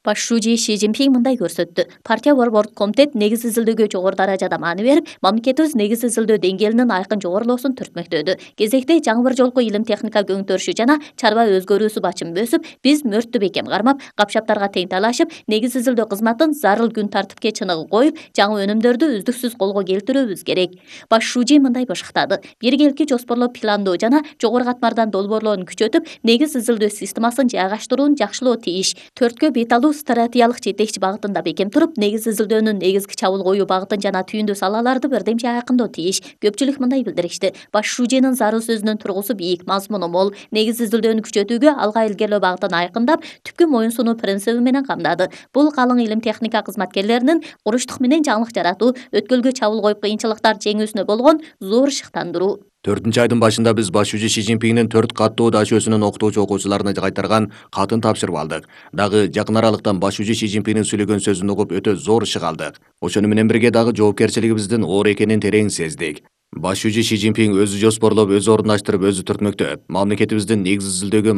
Баш шүүжи Ши Цзиньпин мындай көрсөттү. Партия борбордук комитет негиз изилдөөгө жогору даражада маани берип, мамлекетибиз негиз изилдөө деңгээлинин айкын жогорулоосун түртмөктөдү. Кезекте жаңы бир жолку илим техника көңүтөрүшү жана чарба өзгөрүүсү бачымы өсүп, биз мөрттү бекем кармап, капшаптарга тең талашып, негиз изилдөө кызматын зарыл күн тартипке чыныгы коюп, жаңы өнүмдөрдү үздүксүз колго келтирүүбүз керек. Баш шүүжи мындай башыктады. Биргеликти жоспорлоп пландоо жана жогору катмардан долбоорлоонун күчөтүп, негиз изилдөө системасын жайгаштырууну жакшылоо тийиш. 4кө бет алуу стратегиялык жетекчи багытында бекем туруп, негиз изилдөөнүн негизги чабуул коюу багытын жана түйүндүү салаларды бирдемче айкындоо тийиш. Көпчүлүк мындай билдиришти. Баш шүүжинин зарыл сөзүнүн тургусу бийик, мазмуну мол. Негиз изилдөөнү күчөтүүгө алга илгерлөө багытын айкындап, түпкү моюн сунуу принциби менен камдады. Бул калың илим техника кызматкерлеринин куручтук менен жаңылык жаратуу, өткөлгө чабуул коюп кыйынчылыктар жеңүүсүнө болгон зор шыктандыруу. 4-айдын башында биз баш шүүжү Ши Цзиньпиндин 4 каттуу дашөөсүнүн окутуучу окуучуларына кайтарган катын тапшырып алдык. Дагы жакын аралыктан баш шүүжү Ши Цзиньпиндин сүйлөгөн сөзүн угуп өтө зор ышык алдык. Ошону менен бирге дагы жоопкерчилигибиздин оор экенин терең сездик. Баш шүүжү Ши Цзиньпин өзү жоспорлоп, өзү орундаштырып, өзү түртмөктөп, мамлекетибиздин негиз изилдөөгө